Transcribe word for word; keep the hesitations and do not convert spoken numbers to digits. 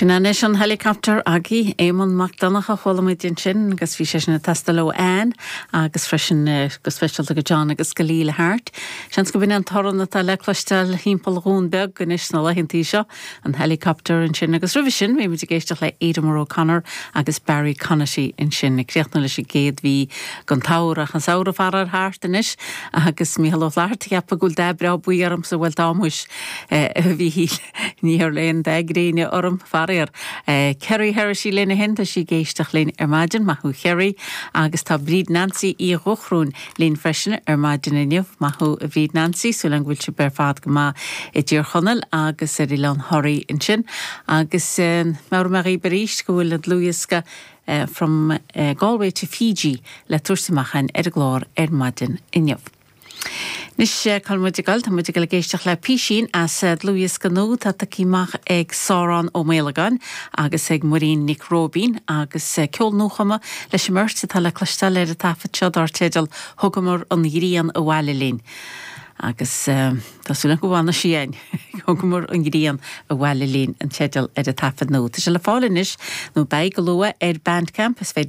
Sin anois an helicopter agaibh Éamonn Mac Donncha chuala muid ansin agus bhí sé sin ag teastáil ó Ann agus freisin eh, go speisialta go John agus go Leela Hart. Seans gurb in an torann atá le cloisteáil timpeall Dhún Beag anois na laethanta seo an helicopter ansin agus roimhe sin bhí muid ag éisteacht le Adamar O'Connor agus Barry Connolly ansin ag críochnú leis an gcéad mhí den tsamhradh an samhradh faraor thart anois agus Mícheál Ó Flatharta ceapann go bhfuil dath breá buí ormsa bhuel tá muis bhí ní léon de gréine orm faraor. Eh, Kerry Hersey lena hin tá sí ag éisteacht linn ar maidin maith thú Kerry agus tá Bríd Nancy í dhochhrún linn freisin ar maidin inniu maith thú a Bhríd Nancy súil agam go bhfuil sibh ar fad go maith i dTír Chonaill agus ar Oileán Thoraí ansin agus eh, mar me beríist go bhfuil an dlúthdhiosca uh, from uh, Galway to Fiji le tabhairt amach ar an gclár ar maidin inniu. Anois cá muid ag dul tá muid ag éisteacht le písín as dlúthdhiosca nua atá tagtha amach ag Sárán Ó Méalagáin agus ag Muirín Nic Róibín agus ceol nuachumtha leis an mbeirt atá le cloisteáil ar an taifead seo dar teideal Thugamar an ghrian abhaile linn. Agus Tá súil go bhfanfaidh sí againn Thugamar an ghrian abhaile linn an teideal ar an taifead nua. Tá sé le fáil anois nó beidh go luath ar Bandcamp is féidir